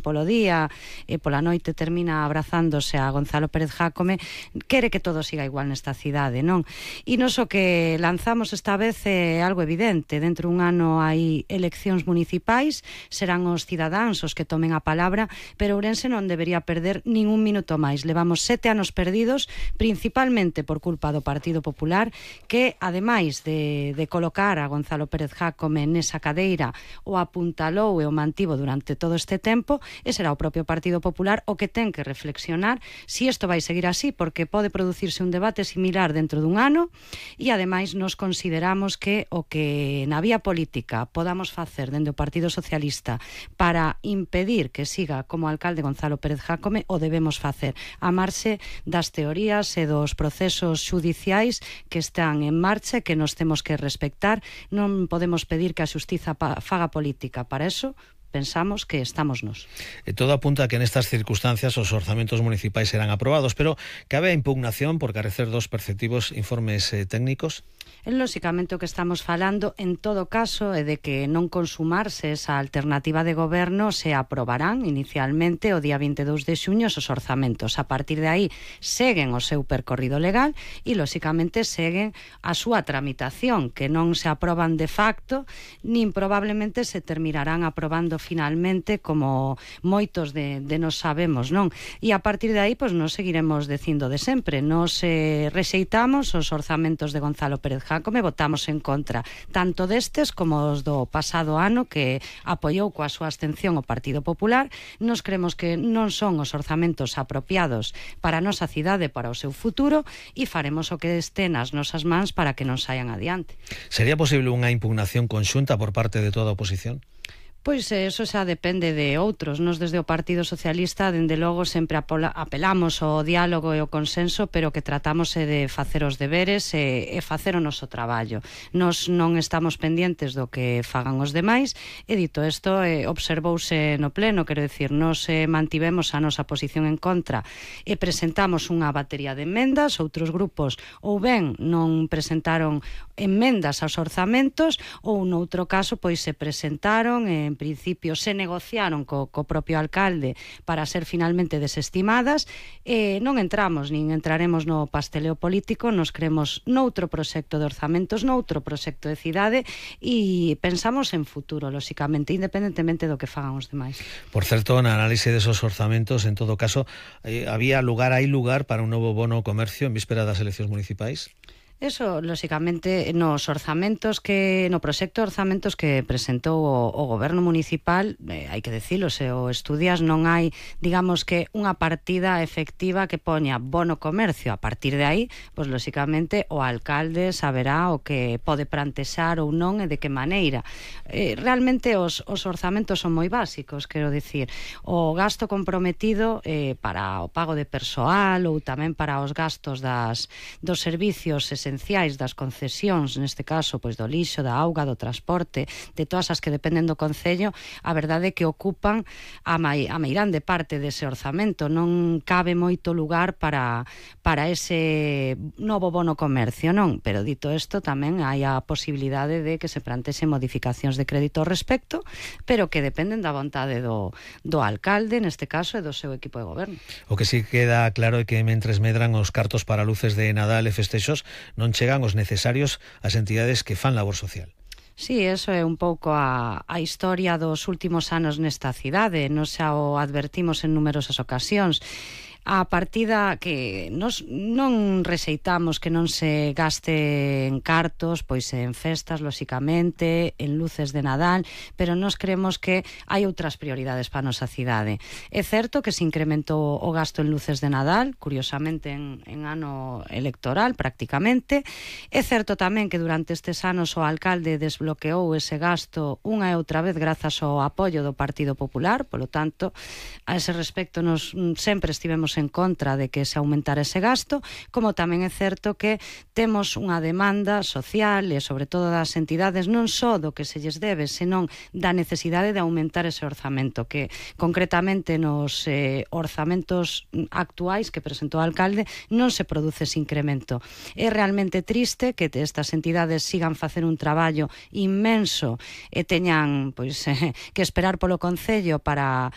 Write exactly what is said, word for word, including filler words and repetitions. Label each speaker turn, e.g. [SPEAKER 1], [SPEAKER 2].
[SPEAKER 1] polo día e pola noite termina abrazándose a Gonzalo Pérez Jácome, quere que todo siga igual nesta cidade, non? E nos o que lanzamos esta vez é algo evidente. Dentro dun ano hai eleccións municipais, serán os cidadáns os que tomen a palabra, pero Ourense non debería perder nin un minuto máis. Levamos sete anos perdidos, principalmente por culpa do Partido Popular, que ademais de, de colocar a Gonzalo Pérez Jácome nesa cadeira, o apuntalou e o mantivo durante todo este tempo, e será o propio Partido Popular o que ten que reflexionar se isto vai seguir así, porque pode producirse un debate similar dentro dun ano, e ademais nos consideramos que o que na vía política podamos facer dende o Partido Socialista para impedir que siga como alcalde Gonzalo Pérez Jácome o debemos facer, a marxe das teorías e dos procesos xudiciais que están en marcha e que nos temos que respectar. Non podemos pedir que a xustiza faga política. Para eso pensamos que estamos nos.
[SPEAKER 2] E todo apunta a que nestas circunstancias os orzamentos municipais serán aprobados, pero cabe a impugnación por carecer dos perceptivos informes eh, técnicos?
[SPEAKER 1] É lóxicamente o que estamos falando en todo caso é de que non consumarse esa alternativa de goberno se aprobarán inicialmente o día vinte e dous de xuño os orzamentos. A partir de aí seguen o seu percorrido legal e lóxicamente seguen a súa tramitación, que non se aproban de facto nin probablemente se terminarán aprobando finalmente como moitos de, de nos sabemos, non? E a partir de aí, pois, nos seguiremos dicindo de sempre. Nos eh, rexeitamos os orzamentos de Gonzalo Pérez Jácome, votamos en contra tanto destes como os do pasado ano, que apoiou coa súa abstención o Partido Popular. Nos creemos que non son os orzamentos apropiados para a nosa cidade, para o seu futuro, e faremos o que este nas nosas mans para que non saian adiante.
[SPEAKER 2] Sería posible unha impugnación conxunta por parte de toda a oposición?
[SPEAKER 1] Pois eso xa depende de outros. Nos desde o Partido Socialista, dende logo, sempre apelamos ao diálogo e ao consenso, pero que tratamos de facer os deberes e, e facer o noso traballo. Nos non estamos pendientes do que fagan os demais, e dito isto, eh, observouse no pleno, quero dicir, nos eh, mantivemos a nosa posición en contra e presentamos unha batería de emendas. Outros grupos ou ben non presentaron emendas aos orzamentos, ou noutro caso pois se presentaron e en principio se negociaron co, co propio alcalde para ser finalmente desestimadas, e non entramos nin entraremos no pasteleo político. Nos creemos noutro proxecto de orzamentos, noutro proxecto de cidade, e pensamos en futuro, lóxicamente, independentemente do que fagan os demais.
[SPEAKER 2] Por certo, na análise desos orzamentos, en todo caso, eh, había lugar, hai lugar para un novo bono comercio en víspera das eleccións municipais?
[SPEAKER 1] Eso, lóxicamente, nos orzamentos que no proxecto de orzamentos que presentou o, o goberno municipal, eh, hai que dicilo, se o estudias, non hai, digamos que, unha partida efectiva que poña bono comercio. A partir de aí, pois, lóxicamente, o alcalde saberá o que pode plantexar ou non e de que maneira. Eh, realmente, os, os orzamentos son moi básicos, quero dicir, o gasto comprometido eh, para o pago de persoal ou tamén para os gastos das, dos servicios esenciais esenciais das concesións, neste caso pois do lixo, da auga, do transporte, de todas as que dependen do concello, a verdade é que ocupan a, mai, a meirande parte dese orzamento. Non cabe moito lugar para, para ese novo bono comercio, non? Pero dito isto, tamén hai a posibilidade de que se plantexen modificacións de crédito ao respecto, pero que dependen da vontade do, do alcalde, neste caso, e do seu equipo de goberno.
[SPEAKER 2] O que sí queda claro é que mentres medran os cartos para luces de Nadal e festexos, non chegan os necesarios ás entidades que fan labor social.
[SPEAKER 1] Sí, eso é un pouco a, a historia dos últimos anos nesta cidade. Nos xa o advertimos en numerosas ocasións. A partida que nos non rexeitamos que non se gaste en cartos, pois en festas, lóxicamente, en luces de Nadal, pero nos creemos que hai outras prioridades para a nosa cidade. É certo que se incrementou o gasto en luces de Nadal, curiosamente en, en ano electoral, prácticamente. É certo tamén que durante estes anos o alcalde desbloqueou ese gasto unha e outra vez grazas ao apoio do Partido Popular, polo tanto, a ese respecto nos sempre estivemos estivemos en contra de que se aumentara ese gasto, como tamén é certo que temos unha demanda social e sobre todo das entidades non só do que se lles debe, senón da necesidade de aumentar ese orzamento, que concretamente nos eh, orzamentos actuais que presentou o alcalde non se produce ese incremento. É realmente triste que estas entidades sigan facer un traballo inmenso e teñan pois, eh, que esperar polo Concello para